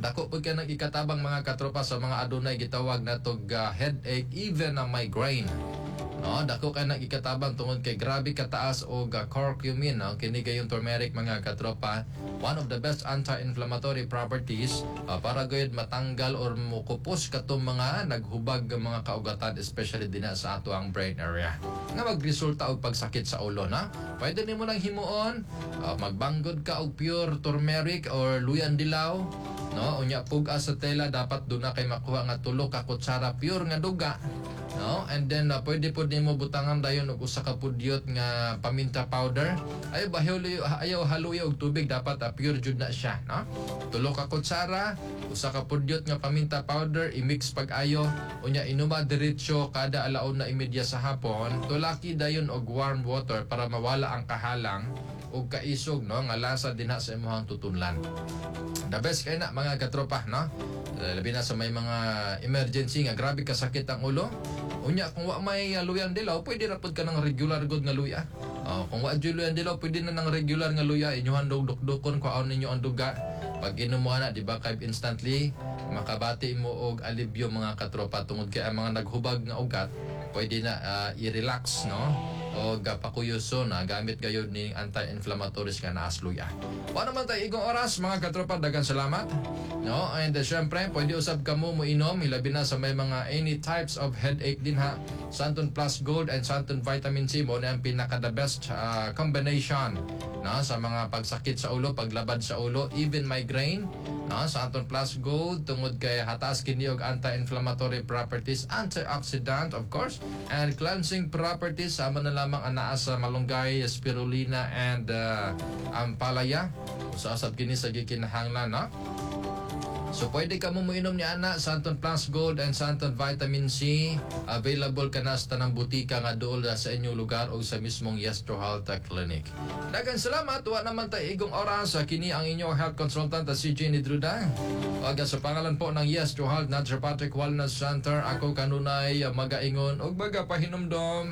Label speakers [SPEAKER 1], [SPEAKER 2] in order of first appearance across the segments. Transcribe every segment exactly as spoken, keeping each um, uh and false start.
[SPEAKER 1] Dako pud kay nang ikatabang, mga katropa, sa mga adunay gitawag natog uh, headache, even na migraine. No, dako kay nang ikatabang tungod kay grabe kataas og uh, curcumin, no? Kini gayong turmeric, mga katropa, one of the best anti-inflammatory properties uh, para gayud matanggal or mukupos katong mga naghubag nga mga kaugatan, especially dinha sa ato ang brain area nga magresulta og pagsakit sa ulo, na. Pwede nimo nang himuon, uh, magbanggod ka og pure turmeric or luyan dilaw, no? Unya pug-a sa tela, dapat duna kay makuha nga tulo ka kutsara pure nga duga, no? And then uh, pwede pod nimo butangan dayon og usa ka pudyot nga paminta powder. Ayaw bahuli, ayaw haluya og tubig, dapat uh, pure jud na siya, no? Tulo ka kutsara, usa ka pudyot nga paminta powder, i-mix pag-ayo, unya inuma diretso kada alauna imedya sa hapon. Tulaki dayon og warm water para mawala ang kahalang ug kaisog, no, nga lasa dinha sa imong tutunlan. The best kay na, mga katropa, no? Eh, Labi na sa may mga emergency nga grabe kasakit ang ulo. Unya kung wa may uh, luyang dilaw, pwede ra pud ka ng regular good nga luya. Oh, kung wa jud luyang dilaw, pwede na ng regular nga luya, inyuhan dog dukdukon, kuhaon ninyo ang duga. Pag inom mo ana, di ba, kay instantly makabati mo og alibyo, mga katropa, tungod kay ang mga naghubag nga ugat pwede na ah, i-relax, no, o gapakuyuso na gamit gayud ni anti-inflammatories nga naa sa luya. Wa naman tayo igong oras, mga katropa, daghang salamat. No, and uh, syempre pwede usab kamo mo inom, hilabi na sa may mga any types of headache din ha. Santon Plus Gold and Santon Vitamin C mo na ang pinaka the best ah, combination, no, sa mga pagsakit sa ulo, paglabad sa ulo, even migraine, no? Santon Plus Gold tungod kay hataas kini og anti-inflammatory properties, antioxidant of course, and cleansing properties, sama na lamang ang naa sa malunggay, spirulina and uh, ampalaya. Usasab kini sa gikinahanglan, no? So pwede ka mo moinom ni ana, Santon Plus Gold and Santon Vitamin C. Available ka na sa tanang butika nga duol sa inyong lugar o sa mismong Yestro Health Clinic. Daghang salamat. Wa naman tayo igong oras. Kini ang inyong health consultant, si Jenny Druda. Ug sa pangalan po ng Yestro Health Naturopathic Wellness Center, ako kanunay magaingon ug magapahinumdom.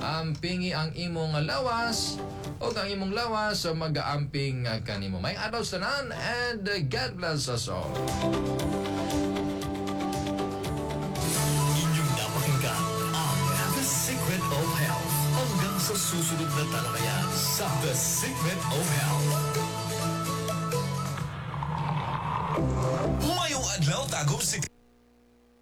[SPEAKER 1] Ampingi ang imong lawas o ang imong lawas sa mag-aamping kanimo. Maayong adlaw sa tanan and God bless us all.
[SPEAKER 2] Inyong napakinggan ang The Secret of Health. Hanggang sa susunod na talakayan sa The Secret of Health.
[SPEAKER 3] Mayong adlaw, Tagum City.